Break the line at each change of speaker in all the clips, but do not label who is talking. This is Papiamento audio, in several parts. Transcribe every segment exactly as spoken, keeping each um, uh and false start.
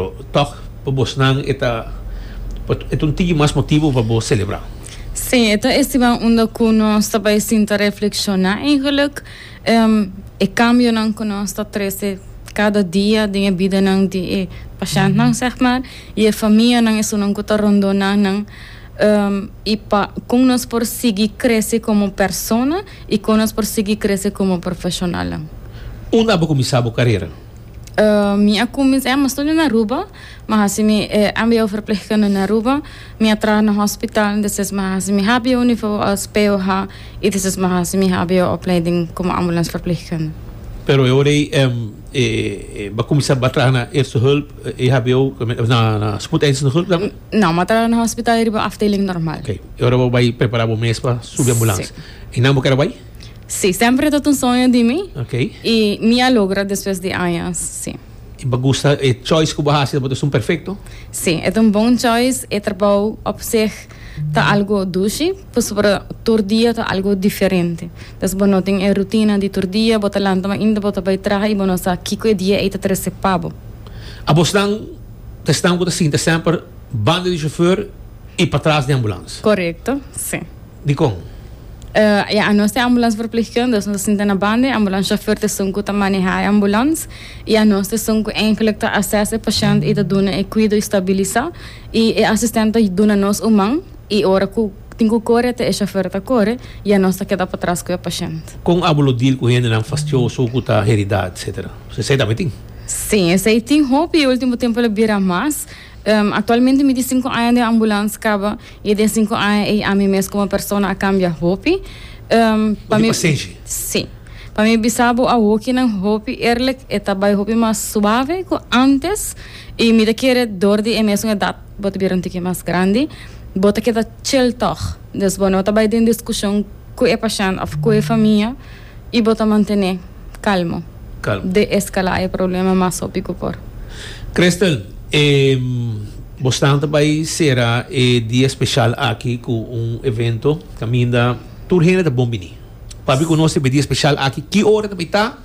Pero toch pa bosnan e ta e ta un tiki mas motivo pa bo celebra.
Si, e ta estima unda cu nos ta bay sinta reflexiona eigenlijk. Um, e cambionan cu nos ta trece cada dia den bida nan di e pashentnan, zeg maar. Y e famianan, esunnan cu ta rondona nan. Um, y pa con nos por sigui crece como persona y con nos por sigui crece como profesional.
Unda bo a cuminsa bo carera?
Uh, mi a cuminsa, mi a studia na Aruba, m'a haci mi eh, M B O verpleegkunde na Aruba, mi a traha na hospital, dus m'a haci mi H B O niveau als P O H y dus m'a haci mi H B O opleiding como ambulanceverpleegkundige.
Pero eu orei um, eh, eh, ba começar a trabalhar na eerste hulp, eh, E H B O, na, na spoedeisende hulp dan?
No, m'a traha na hospital riba afdeling normal.
Ok. Awor bo a bay prepara bo mes pa subi ambulance.
Si.
Y nan bo kier bay?
Si, semper ta un soño di mi.
Ok.
Y mi a logra despues di aña, si.
Y bo gusta e choice cu bo a haci, bo ta perfecto?
Si, e ta un bon choice. E trabou op zich ta algo dushi, pasobra tur dia ta algo diferente. Dus bo no tin e rutina di tur dia, bo ta lanta mainta, bo ta bay traha y bo no sa kico e dia ey ta trece pa bo.
Abosnan ta esnan cu ta sinta semper banda di chauffeur y patras di ambulance.
Correcto, si.
Di con?
Uh, ja, nos ta ambulanceverpleegkundige, dus nos ta sinta na banda, ambulancechauffeur ta esun cu ta maneha e ambulance y nos ta esun cu eigenlijk ta assess e pashent y ta duna e cuido y stabilisa y e assistent ta duna nos un man y ora cu tin cu core e chauffeur ta core y nos ta keda patras cu e pashent.
Con abo lo deal cu hendenan fastioso, cu ta herida, et cetera. Esey tambe tin?
Si, esey tin hopi y ultimo tempo el a bira mas. Um, actualmente mi tin cinco aña den ambulance caba y den cinco aña ey ami mes como persona a cambia hopi. Um,
Pa mi pasenshi.
Si. Pa mi bisa bo awokinan hopi eerlijk, e ta bay hopi mas suave cu antes y mi ta kere door di e mesun edad, bo ta bira un tiki mas grandi, bo ta keda chill toch. Dus bo no ta bay den discusion cu e pashent of cu e famia y bo ta mantene calmo.
Calmo.
De-escala e problema mas hopi cu por.
Crystal, eh, bo ta bay cera e dia special aki cu un evento caminda tur hende ta bon bini. Papia cu nos e dia special aki, ki ora tambe ta?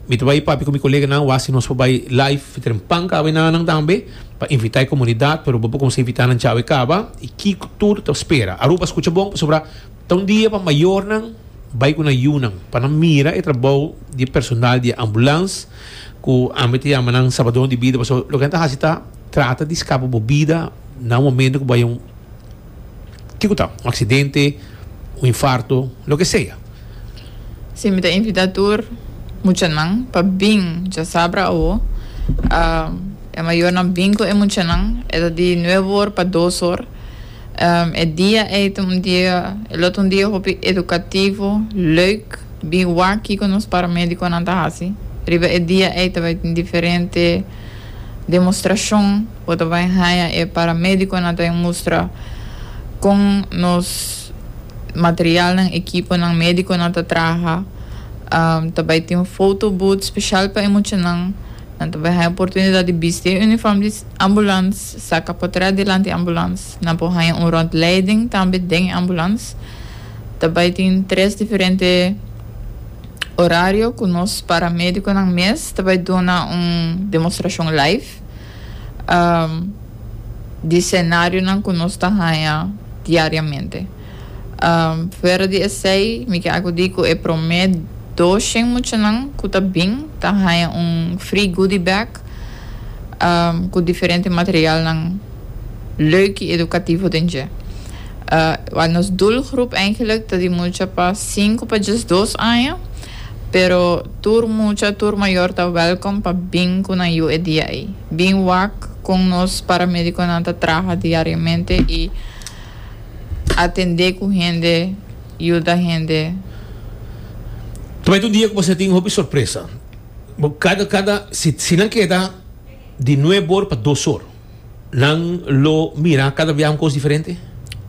Mi ta bay papia cu mi coleganan, wasi nos bay live trempan caba nan tambe pa invita e comunidad, pero bo por invita nan djawe caba y kico tur ta spera. Aruba, scucha bon, sobre ta un dia pa mayornan bay cu nan yiunan pa nan mira e trabou di personal di ambulance cu ami ta yama nan salbador di bida, pasobra loke nan ta haci ta trata di scapa bo bida na momento cu bay un kico ta, un accidente, un infarto, loke sea.
Si, mi ta invita tur muchanan pa bin diasabra awo. Uh, e mayornan bin cu e muchanan, e ta di nuebe or pa dos or. Um, e dia ey un dia, e un dia hopi educativo, leuk, bin wak cu nos paramediconan ta haci. Riba e dia ey tambe tin diferente demonstracion, bo ta bay haya e paramediconan ta mustra con nos materialnan, equiponan medico nan ta traha. Um, tambe tin un photo booth special pa e muchanan. Nan tambe tin oportunidad di bisti uniform di ambulance, saca portret dilanti ambulance. Nan por haya un rondleiding tambe den ambulance. Tambe tin tres diferente horario cu nos paramediconan mes tambe ta duna un demonstracion live um, di scenarionan cu nos ta haya diariamente. Um, fuera di esey, mi kier di e prome dos muchanan cu ta bin, ta haya un free goodie bag um, cu diferente materialnan leuk y educativo den dje. Uh, nos doelgroep eigenlijk ta di mucha pa cinco pa diesdos aña, pero tur mucha, tur mayor ta welcome pa bin cu nan yiu e dia ey. Bin wak con nos paramediconan ta traha diariamente y atende cu hende, yuda hende.
Tambe un dia cu bo tin un sorpresa. Cada, cada, si, si nan keda di nuebe or pa dos or, nan lo mira cada biaha un cos diferente?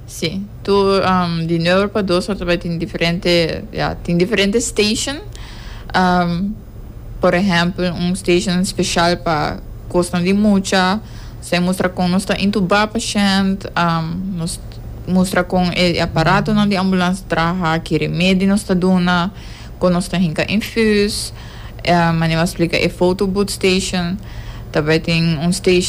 Si, tur um, di nuebe pa dos or tambe tin diferente, ja, tin diferente station. Um, por ehempel, un station special pa cos di mucha, bo mustra con nos ta intuba pashent, um, nos mustra con e aparatonan di ambulance traha, ki remedi nos ta duna, con nos ta hinca infuus, um, manera splica e photo booth station, tambe tin un station